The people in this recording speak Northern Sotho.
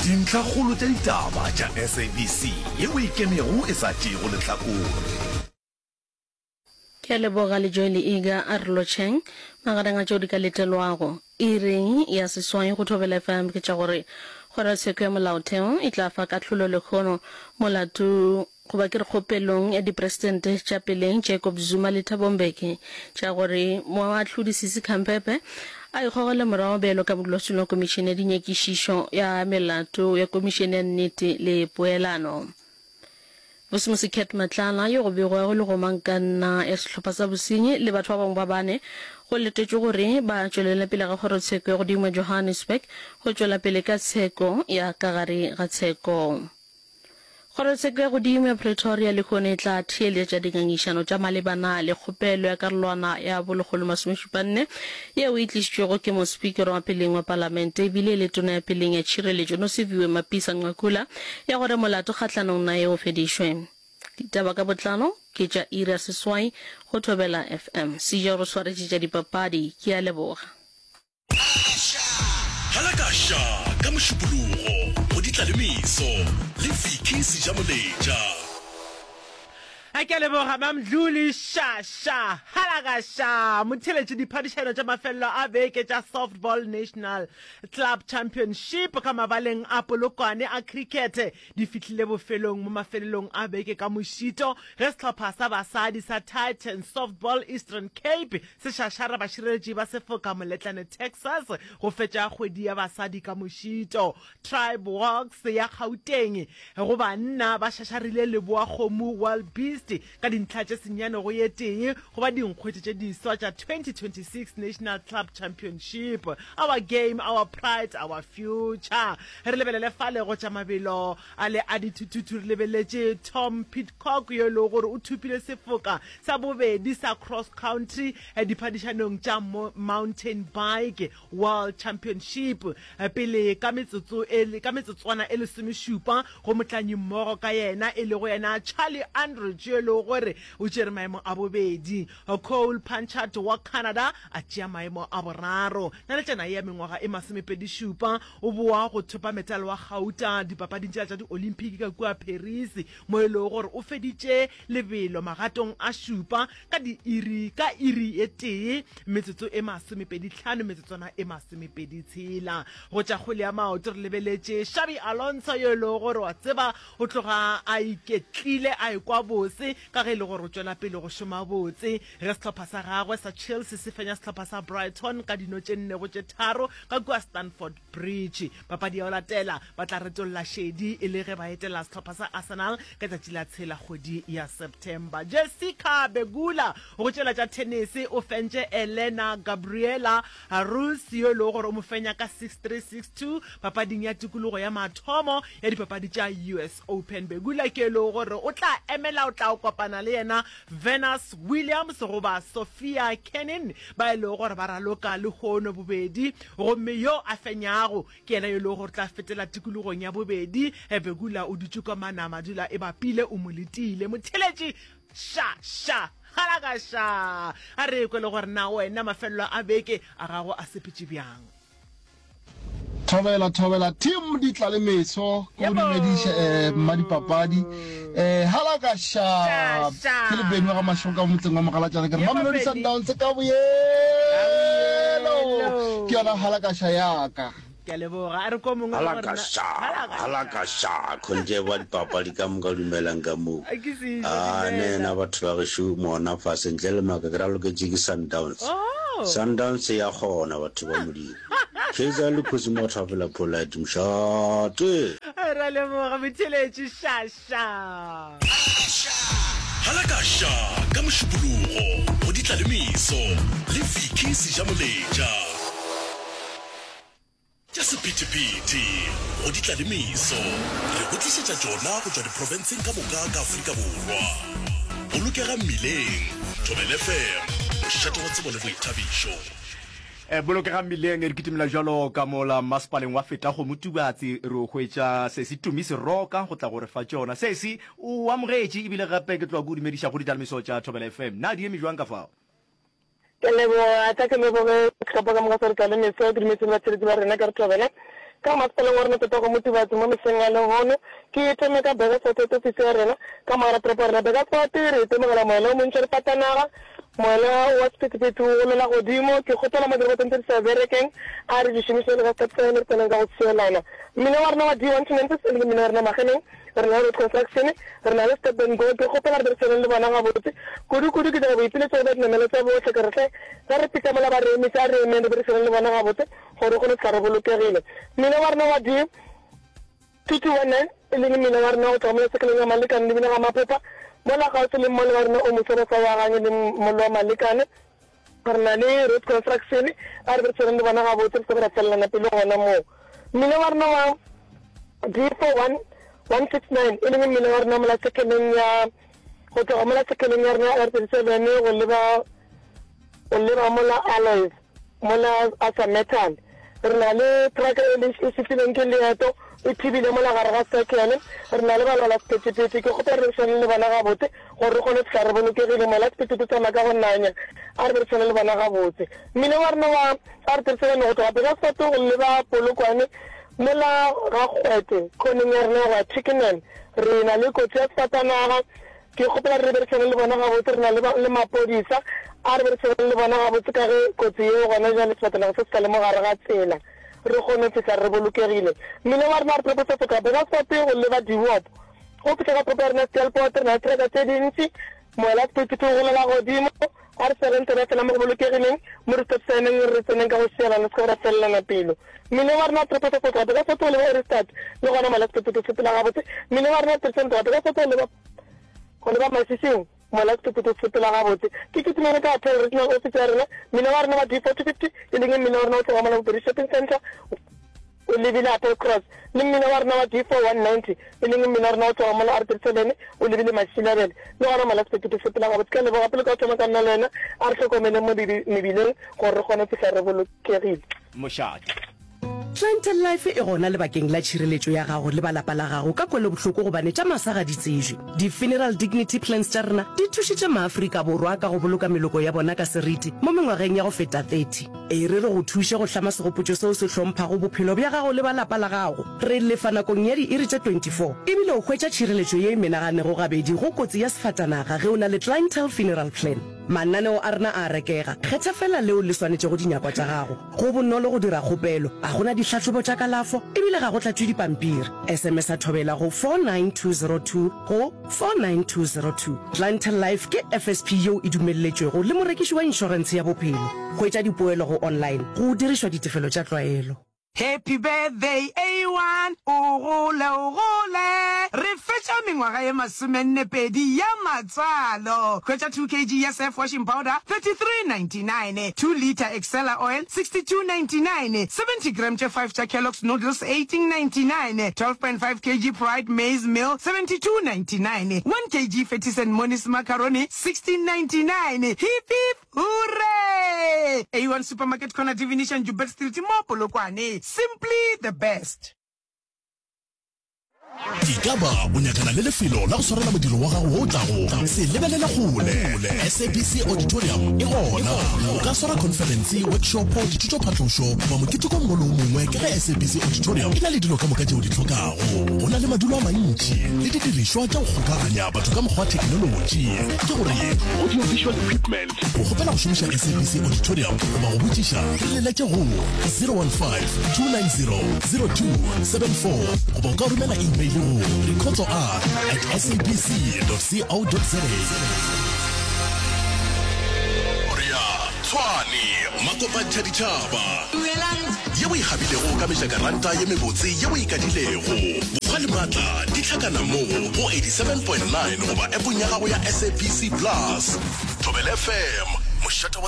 Dintlhakgolo tša ditaba tša SABC yeo e ikemego e sa tšeego lehlakore. Ke a leboga Lejoe le Iga a re lotšheng. Magareng a tšeo di ka letelwago iring ya seswai go Thobela FM ke tša gore Kgorotsheko ya Molaotheo e tla fa kahlolo lehono molato goba ke re kgopelong ya dipresidente tša peleng Jacob Zuma le Thabo Mbeki tša gore moahlodi Sisi Khampepe a ikgogele morago bjalo ka modulasetulo wa Komišene ya Dinyakišišo ya Melato ya Komišene ya Nnete le Poelano. Vusimusi Cat Matlala, yo go begwago e le gomangkanna ya sehlopha sa bosenyi le batho ba bangwe ba bane, go letetšwe gore ba tšwelele pele ga kgorotsheko ya godimo ya Johannesburg go tšwela pele ka tsheko ya ka gare ga tsheko. Kgorotsheko ya godimo ya Pretoria lehono e tla theeletša dingangišano tša malebana le kgopelo ya karolwana ya bo 174 yeo e tlišitšwego ke mospikara wa peleng wa palamente ebile e le tona ya peleng ya tšhireletšo Nosiviwe Mapisa-Nqakula ya gore molato kgahlanong naye o fedišwe. Ditaba ka botlalo ke tša iri ya seswai go Thobela FM. Seja o re swaretše tša dipapadi. Ke a leboga. Halakaša ka Mošupologo go Ditlalemeso le Vicky Sejamoletša. A ke a leboga Mamdluli Sha Sha Halakaša Motheeletši Diphadišano tša mafelelo a beke tša Softball National Club Championship ka mabaleng a Polokwane a cricket di fihlile bofelong mo mafelelong a beke ka mošito ge sehlopha sa basadi sa Titans Softball Eastern Cape se šašara bašireletši ba sefoka Moletlane Texas go fetša kgwedi ya basadi ka mošito. Tribe Walks ya Gauteng go banna ba šašarile Leboa Kgomo Wild Beast ka dintlha tše senyane go ye tee go ba dinkgwete tše diswa tša 2026 National Club Championship. Our game, our pride, our future. Re lebelele fale go tša mabelo a le a dithuthuthu re lebeletše Tom Pidcock yo e lego gore o thopile sefoka sa bobedi sa cross country diphadišanong tša mountain bike World Championship pele ka metsotso e ka metsotswana e lesomešupa go motlanyimmogo ka yena e lego yena Charlie Andridge yo e lego gore o tšere maemo a bobedi. Cole Punchard wa Canada a tšea maemo a boraro. Naletšana ye ya mengwaga e masomepedišupa o boa go thopa metale wa gauta dipapading tšela tša di-Olympic ka kua Paris mo e lego gore o feditše lebelo magatong a šupa ka diiri ka iri e tee metsotso e masomepedihlano metsotswana e masomepeditshela. Go tša kgwele ya maoto re lebeletše Xabi Alonso yo e lego gore wa tseba o tloga a iketlile a ekwa bose ka ge e le gore o tšwela pele go šoma botse ge sehlopha sa gagwe sa Chelsea se fenya sehlopha sa Brighton ka dino tše nne go tše tharo ka kua Stamford Bridge. Papadi ya go latela ba tla retolla šedi e le ge ba etela sehlopha sa Arsenal ka tšatši la tshela kgwedi ya September. Jessica Pegula go tšela tša thenese o fentše Elena Gabriela Rus yo e lego gore o mo fenya ka 6-3, 6-2 papading ya tikologo ya mathomo ya dipapadi tša US Open. Pegula ke e lego gore o tla emela o tla kopana le yena Venus Williams goba Sofia Kenin ba e lego gore ba raloka lehono bobedi gomme yo a fenyago ke yena yo e lego gore tla fetela tikologong ya bobedi. Pegula o dutše kwa Manama dula e bapile o mo letile. Motheeletši Ša, ša, halaka ša! A re kwe le gore na wena mafelelo a beke a gago a sepetše bjang. Thobela thobela team di tla le meso ke go dumediše eh mma dipapadi eh halaka ša ke le Benny wa ga Mashego ka motseng wa Mogalatšana ke re Mamelodi Sundowns ka boyelo ke yona halaka ša yaka. Ke a leboga. A re ko mongwe le gore na. Halakasha, halakasha, khonje ba dipapadi ka moka dumelang ka moo. A ke se iše, Ah, ne dumela. na batho ba gešo mona fase ntle le maaka ke raloketše ke Sundowns. Oh. Sundowns ya kgona batho ba Modimo. Kaizer le Kgosi Motho fela polite mošate. Re a leboga motheeletši ša ša. Halakasha ka Mošupologo go Ditlalemeso le Vicky Sejamoletša. Tša sephethephethe go di tla le meso, re go tlišetša tšona go tšwa diprofenseng ka moka ka Afrika Borwa. Bolokega mmileng, Thobela FM, mošate wa tsebo le boithabišo. Bolokega mmileng, re kitimela bjalo ka mola mmasepaleng wa Fetakgomo Tubatse, re o hwetša Sesi Tumi Seroka go tla go re fa tšona. Sesi, o amogetše ebile gape ke tloga ke o dumediša go ditlalemiso tša Thobela FM. Na di eme bjang ka fao? Ke a leboga, tla ke leboge sehlopha ka moka sa Re Tla le Meso, ke dumetse le batheeletši ba rena ka re thobela. Ka masepaleng wa rena Tatago Motubatse mo mehleng ya lehono, ke thome ka Burgersfort Head Office ya rena, ka mogara toropo ya rena Burgersfort, re itemogela moela o montši wa difatanaga, moela wa sephethephethe o golela godimo. Ke kgopela mo dirobotong tse di sa berekeng, a re di šomiše le ka stop sign re tseneng ka go sielana. Mmila wa rena wa D1 to Memphis e leng mmila wa rena Mageneng, re na le road construction, re na le stop and go. Ke kgopela re berisaneng le bona gabotse. Kudu-kudu ke dira boipiletšo go ba dinamelo tša bohle, ke re hle ge re fihla mola ba re emetše, a re emeng re berisaneng le bona gabotse gore re kgone go fihla re bolokegile. Mmila wa rena wa D2219 e leng mmila wa rena go tloga mola sekeleng ya Malekane lebile ga Maphepha, mola kgauswi le mmolo wa rena o moswa ba sa o agang e leng mmolo wa Malekane. Re na le road construction, a re be re tshwereng le bona gabotse, re se ke ra felelana pelo gona moo. Mmila wa rena wa D41169 e leng mmila wa rena mola sekeleng ya go tloga mola sekeleng ya rena ya R37 go leba go leba mola Alois mola Asa Metal. Re na le truck e le e fihlileng ke leeto e thibile mola gare ga circle. Re na le balwala sephethephethe, ke kgopela re berekišane le bona gabotse gore re kgone go fihla re bolokegile. Mola sephethephethe tsamaya ka go nanya, a re berekišane le bona gabotse. Mmila wa rena wa R37 go tloga Burgersfort go leba Polokwane mola ga Kgwete khoneng ya rena ya go ya Twickenham, re na le kotsi ya sefatanaga. Ke kgopela re berekišane le bona gabotse, re na le, le maphodisa, a re berekišaneng le bona gabotse ka ge kotsi yeo gona bjale sefatanaga se se sa le mo gare ga tsela, re kgone go fihla re bolokegile. Mmileng wa rena re propose go tloga Burgersfort go leba Dewop, go fihla ka toropo ya rena Steelpoort, re na le teraka tše dintši, moela sephethephethe o golela godimo, a re swereng tsela fela mo go bolokegileng, mo re stop sign-eng re tseneng ka go šielana, se ke ra felelana pelo. Mmileng wa rena re propose go tloga Burgersfort go leba Ohrigstad, le gona moela sephethephethe o sepela gabotse. Mmileng wa rena re tloga Burgersfort go leba. Go leba Masising, mola sephethephethe se sepela gabotse. Ke kitimele ka Hotel Regional Office ya rena, mmila wa rena wa D42, e leng mmila wa rena o tloga mola Bopedi Shopping Centre o lebile Apple Cross, le mmila wa rena wa D4190, e leng mmila wa rena o tloga mola R37 o lebile Mashilabele. Le gona mola sephethephethe se sepela gabotse. Ke a leboga. Pele ka go thoma ka nna le wena, a re hlokomeleng mo mebileng gore re kgone go fihla re bolokegile. Mošate. Clientele Life e gona lebakeng la tšhireletšo ya gago le ba lapa la gago ka kwelobohloko gobane tša masa ga di tsejwe. Di-Funeral Dignity Plans tša rena di thušitše maAfrika Borwa ka go boloka meloko ya bona ka seriti mo mengwageng ya go feta 30. E re re go thuše go hlama segopotšo seo se hlomphago bophelo bja gago le ba lapa la gago. Re lefa nakong ya diiri tše 24 ebile o hwetša tšhireletšo ye e menaganego gabedi go kotsi ya sefatanaga ge o na le Clientele Funeral Plan. Mananeo a rena a a rekega, kgetha feela leo le swanetšego dinyakwa tša gago. Go bonolo go dira kgopelo, ga go na dihlahlobo tša kalafo e bile ga go tlatšwe dipampiri. SMS-a Thobela go 49202 go 49202. Clientele Life ke FSP yeo e dumelletšwego le morekiši wa inšorentshe ya bophelo. Hwetša dipoelo go online go dirišwa ditefelo tša tlwaelo. Happy birthday A1, o gole o gole. Re fetša mengwaga ye masomennepedi ya matswalo. Hwetša 2 kg ya Surf washing powder, 33.99, 2 litre Excella oil, 62.99, 70 gram tše 5 tša Kellogg's noodles, 18.99, 12.5 kg Pride maize meal, 72.99, 1 kg Fettis and Moni's macaroni, 16.99. Hip hip hooray! A1 Supermarket Corner Divination Joubert Street mo Polokwane. Simply the best. Ekaba o nyakana le lefelo la go swarela modiro wa gago wo o tlago? Se lebelele kgole. SABC Auditorium e gona. O ka swara khonferense, workshopo, dithutophatlošo goba moketeko o mongwe le o mongwe ka ge SABC Auditorium e na le dilo ka moka tše o di hlokago. Go na le madulo a mantši le didirišwa tša go kgokaganya batho ka mokgwa wa theknolotši, ke gore audio-visual equipment. Go kgopela go šomiša SABC Auditorium goba go botšiša, re leletše go 015 290 0274 goba o ka romela email go rikhotsoar at sabc.co.za. Tshwane, Makopantšha ditšhaba ye o e gabilego ka mejakaranta ye mebotse ye o e kadilego. Bokgwa le maatla di hlakana mo go 87.9 goba appong ya gago ya SABC Plus. Thobela FM, mošate wa.